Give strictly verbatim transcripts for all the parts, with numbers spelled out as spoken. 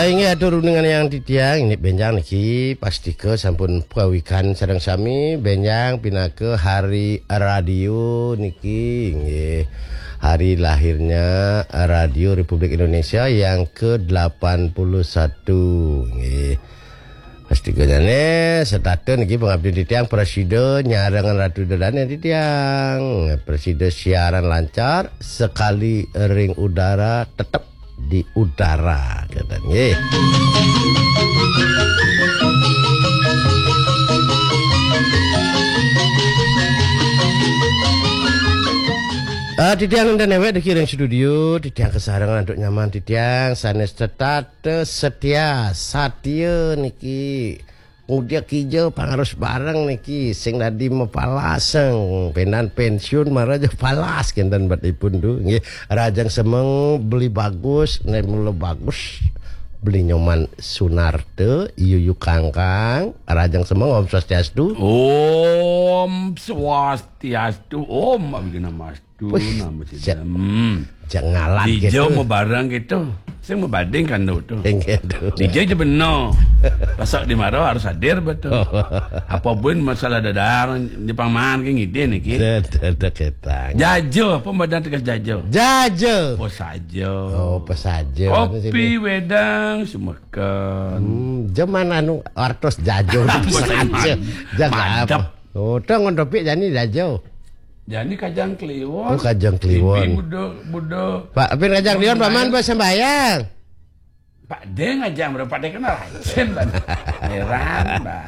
Inggih atur undangan yang titiang, ini benjang niki pastika sampun pawikan sareng sami, benjang pinaka hari radio niki, nggih. Hari lahirnya Radio Republik Indonesia yang kedelapan puluh satu, nggih. Pastika jane setata niki pengabdi titiang prasida nyarengan Ratu Ida Dane titiang. Prasida siaran lancar, sekali ring udara tetep di udara, kata nggih. Ah, titiang nenten newek diki ring studio, titiang kasarengan antuk nyaman titiang sanes tetata setia, satia niki. Ngudia kija pangarus bareng niki sing dadi mapalaseng, penan pensiun mara ja palas kenten bet ipun tu. Nggih, rajang semeng beli bagus, nek mula bagus beli nyoman Sunarta, iyu yu kangkang, rajang semeng. Om Swastiastu. Om Swastiastu, Om Awighnamastu. Tu Wih, nama sida. Cek, hmm, cek ngalat dija gitu. Mau barang gitu. Sing mau bading kan tu. Inggih tu. Dija je benar. Pasak di mara harus hadir betul. Apa pun masalah dadar, Jepang man ke ngidin iki. Dah, dah, dah, ketang. Jaja, apa badan tegas jaja? Jaja. Oh, saja. Oh, pesaja. Kopi, wedang, semekan. Hmm, zaman anu artos jaja. Pesaja. Jangan mantap. Apa? Oh, tong untuk jani jaja. Jani Kajang Kliwon. Oh, Kajang Kliwon. Buda, buda. Pak, pin Kajang Kliwon, Pak Man, sembahyang. Pak Deng aja, Pak Deng kena racun, Pak. Heran, Pak.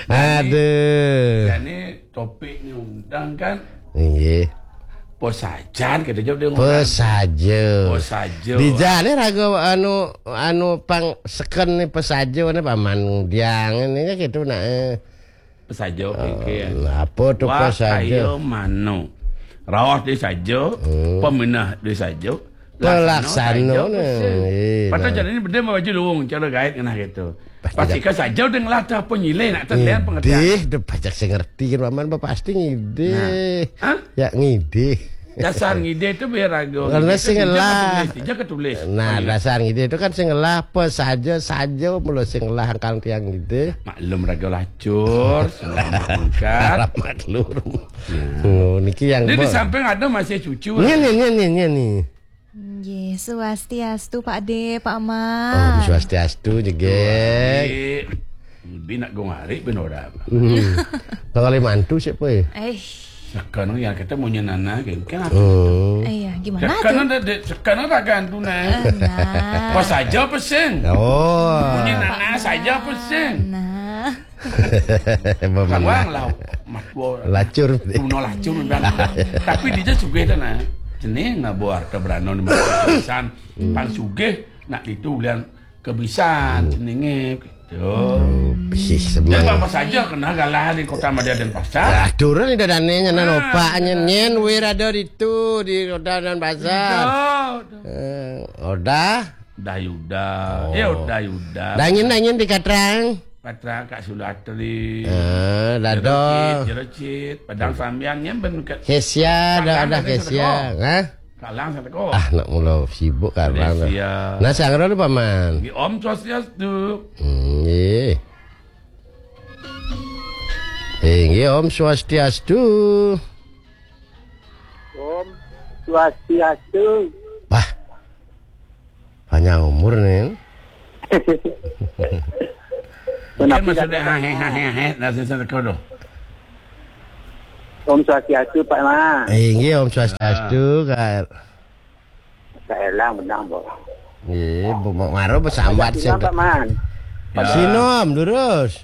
Aduh. Jani topiknya undang kan. Iya. Pesajan kita jawab dia. Pesaja. Pesaja. Di jane raga anu, anu pang seken ni pesaja ni Pak Man Diang ni kan gitu nak. Eh. Pesaja pikir. Nah, apa tu pesaja? Kaya mano. Raos di saja, hmm, peminah di saja. Pelaksana ni. Patut jadi ni benda baju luung cara gaib kena gitu. Pasti kan saja udah ngelah tu apa nyilai nak terlihat pengertian. Ngidih, dah pajak saya ngerti kan Paman, pasti ngidih. Nah. Hah? Ya ngidih. Dasar ngidih tu biar ragu. Karena sing ngelah. Dia ke tulis. Nah, dasar ngidih tu kan sing ngelah apa saja, saja mula sing ngelah angkal tiang ngidih. Maklum raga lacur, selamat mengkat. Selamat lur. Oh, niki yang di samping ada masih cucu. Ni ni ni ni ni ni. Nggih, swastiastu Pak De, Pak Ma. Oh, swastiastu jegek. Bi nak gong hari ben ora. Hmm. Kali mantu siapa ya? Eh. Sekarang yang kita mau nyenana kan. Kan aku. Hmm. Eh, ya, gimana tuh? Sekarang ada dek, sekarang ada gantu nah. Eh, nah. Pas aja pesing. Oh. Mau nyenana saja pesing. Nah. Bawang lah, mak gua. Lacur. Tuno lacur memang. Tapi dia juga itu nah. Jenenge ngabo harta berano ni pisan. Pang sugih nak itu ulian kebisan jenenge gitu. Bisi semang. Apa saja kena galah di Kota Madya Denpasar. Lah turun ida dane nyanan opak nyen nyen wir ada ditu di Kota Denpasar. Eh, Odah. Udah Yuda. Oh. Ya Udah Yuda. Dangin dangin di Katrang. Patra Kak Sulatri. Eh, Dado. Jerocit, Jerocit, Padang Sambiang nya ben ke Kesia, dah ada Kesia, ha? Kalang satu ko. Ah, nak mula sibuk kalang. Nah, sangra tu paman. Nggih, Om Swastiastu. Hmm, nggih. Eh, nggih, Om Swastiastu. Om Swastiastu. Wah. Panjang umur ni. Mungkin maksudnya ha he ha he ha he dah selesai kau tu. Om Swastiastu Pak Ma. Eh, nggih Om Swastiastu Kak. Kak Elang menang, Bok. Nggih, Bu Mak Maro besambat sing Pak Man. Sinom lurus.